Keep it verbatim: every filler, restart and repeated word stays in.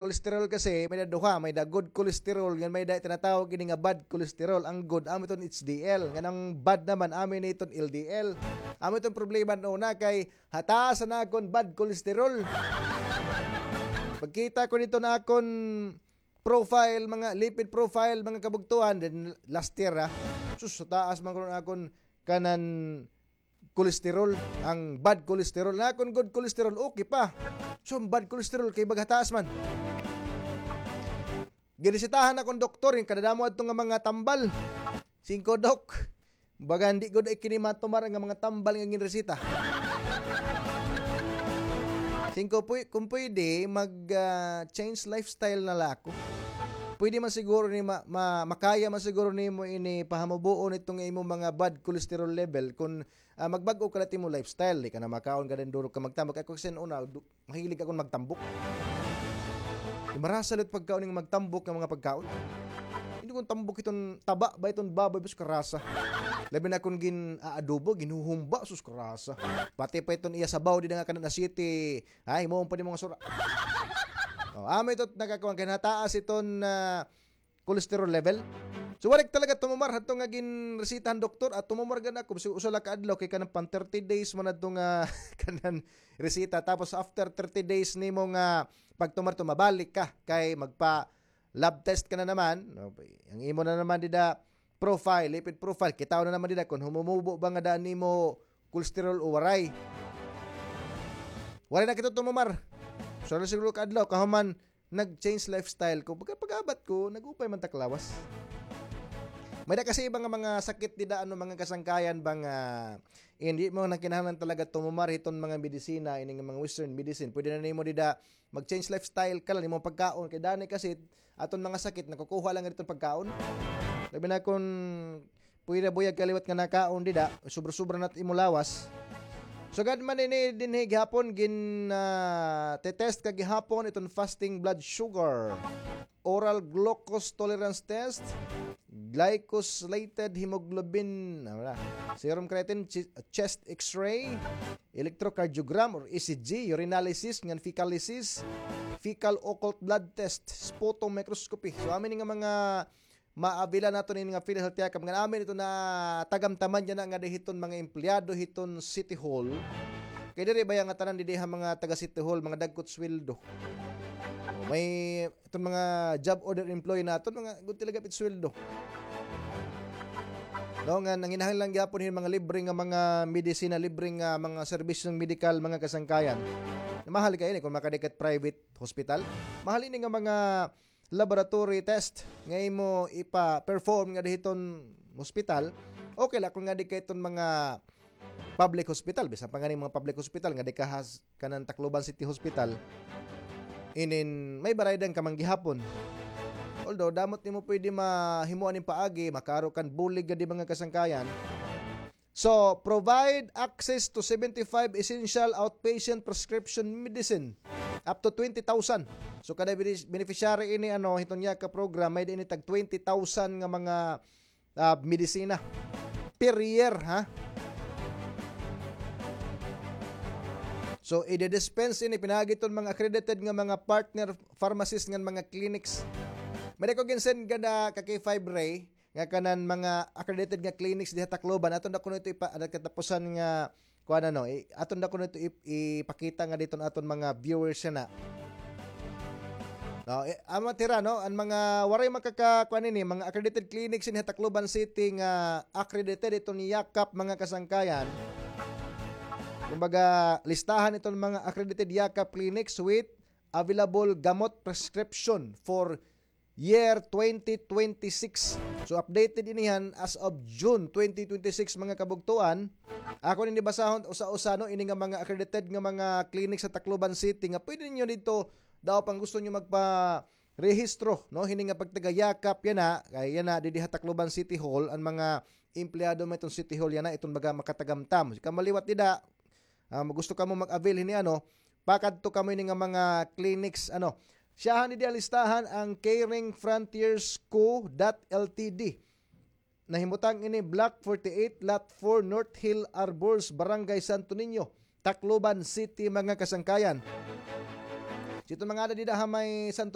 Cholesterol kasi, may da duha, may da good cholesterol, ngan may da tinatawag ini nga bad cholesterol. Ang good, amo iton H D L, ngan ang bad naman, amo ini iton L D L. Amo iton problema una kay hataas na akon bad cholesterol. Pagkita ko dito na akon profile, mga lipid profile, mga kabugtuan, then last year, ha. Sus, taas man ko akon kanan cholesterol, ang bad cholesterol. Na akon good cholesterol, okay pa. So, ang bad cholesterol kay baga taas man. Giresitahan akon doktor, yung kadadamo adto nga mga tambal. Singko, "Dok, baga hindi gud ay kini matumar nga mga tambal nga ginresita." Singko, "Puy-, kung pwede, mag, ah, change lifestyle na la ako." Pwede man siguro ni ma-, ma-, makaya man siguro nimo ini pahamubuon itong imo mga bad cholesterol level kung, ah, magbag-o ka la it imo lifestyle, di ka na makaon ka din duro ka magtambok. Ako kasi una, du-, mahilig ako magtambok. Di marasa lit pagkaon nga magtambok nga mga pagkaon. Hindi kong tambok iton taba ba iton baboy, bas karasa. Labi na kung gin-aadobo, ginuhumba, sus karasa. Pati pa iton iya sabaw, di na nga kanan na city. Ay, mo pa di mga sura. Oh, amo ito nakakuha, kaya nataas iton, ah, cholesterol level. So, warik talaga tumumar hadto nga ginresitahan doktor at tumumar gad ako. So, usa la ka adlaw kay kanang pan thirty days man adto nga kanan resita. Tapos, after thirty days nimo nga pagtumar to, mabalik ka kay magpa lab test ka na naman. No? Ang imo na naman dida profile, lipid profile, kitaw na naman dida kung humumubo ba nga daan nimo cholesterol o waray. Waray na kita tumumar. So, na siguro ka adlaw, kahuman, nag-change lifestyle ko. Pagka pag-abat ko, nag-upay man taklawas. May da kasi iba nga mga sakit dida, ano, mga kasangkayan ba nga hindi mo na kinahanglan talaga tumumar hiton mga medisina, ini nga mga western medicine. Pwede na nimo dida mag-change lifestyle ka lang, imo pagkaon. Kay dani kasi, aton mga sakit, nakukuha lang dito pagkaon. Labi na kung pwede buyag ka liwat nga nakaon dida, sobra-sobra na imo lawas. Sugad man ini dinhi gihapon gin, ah, te-test ka gihapon iton fasting blood sugar, oral glucose tolerance test, glycosylated hemoglobin, ano na, serum creatinine, chi-, chest x-ray, electrocardiogram or E C G, urinalysis ngan fecalysis, fecal occult blood test, sputum microscopy. So, amin nga mga maabila naton ini nga PhilHealth Yakap. Ngan amin ito na tagamtaman niya na nga di hiton mga empleyado hiton City Hall. Kay diri baya nga tanan didi ha mga taga City Hall, mga dagkot sweldo. O, may iton mga job order employee naton, mga good talaga pit sweldo. No, nga nanginahanglan lang gyapon hin mga libre nga mga medisina, libre nga mga serbisyong medikal, mga kasangkayan. Mahal kay ini kung makadikat private hospital. Mahal ini nga mga laboratory test nga imo ipa-perform nga dihiton hospital, okay la kung nga di kay iton mga public hospital, bisan pa nga ni mga public hospital nga di ka has-, kanan Tacloban City Hospital, inin may baraydan ka man gihapon. Although, damot nimo pwede mahimuan nin paagi, makaaro kan bulig gadi mga kasangkayan. So, provide access to seventy-five essential outpatient prescription medicine up to twenty thousand. So, kada bene-, beneficiary ini, ano, hiton Yakap program, may ini tag twenty thousand nga mga, ah, medisina per year, ha? So, ide-dispense ini pinaagi hiton mga accredited nga mga partner pharmacies ngan mga clinics. May ko ginsend gada ka K five Ray, nga kanan mga accredited nga clinics diha Tacloban. Aton da kuno ito ipa-, ano, katapusan nga, kuan, ano, i-, aton da kuno ito ip-, ipakita nga diton aton mga viewers na. No, eh, ang mga tira, no, ang mga waray makaka-, kuan ini, mga accredited clinics diha Tacloban City nga accredited iton Yakap, mga kasangkayan. Kumbaga, listahan iton mga accredited Yakap clinics with available gamot prescription for year twenty twenty-six. So, updated ini han as of June twenty twenty-six, mga kabugtuan. Ako nini basahon usa-usa, no, ini nga mga accredited nga mga clinic sa Tacloban City nga pwede ninyo dito daw pang gusto nyo magpa-rehistro, no, hini nga pagtagayakap yana, kay yana, didi ha Tacloban City Hall, ang mga empleyado man iton City Hall yana, iton baga makatagamtam. Kamaliwat dida, ah, gusto kamo mag-avail hini, ano, pakadto kamo ini nga mga clinics, ano. Siyahan ni di listahan ang Caring Frontiers Co. dot L T D. Nahimutang ini Block forty-eight, Lot four, North Hill Arbors, Barangay Santo Niño, Tacloban City, mga kasangkayan. Didto man ngada dida ha may Santo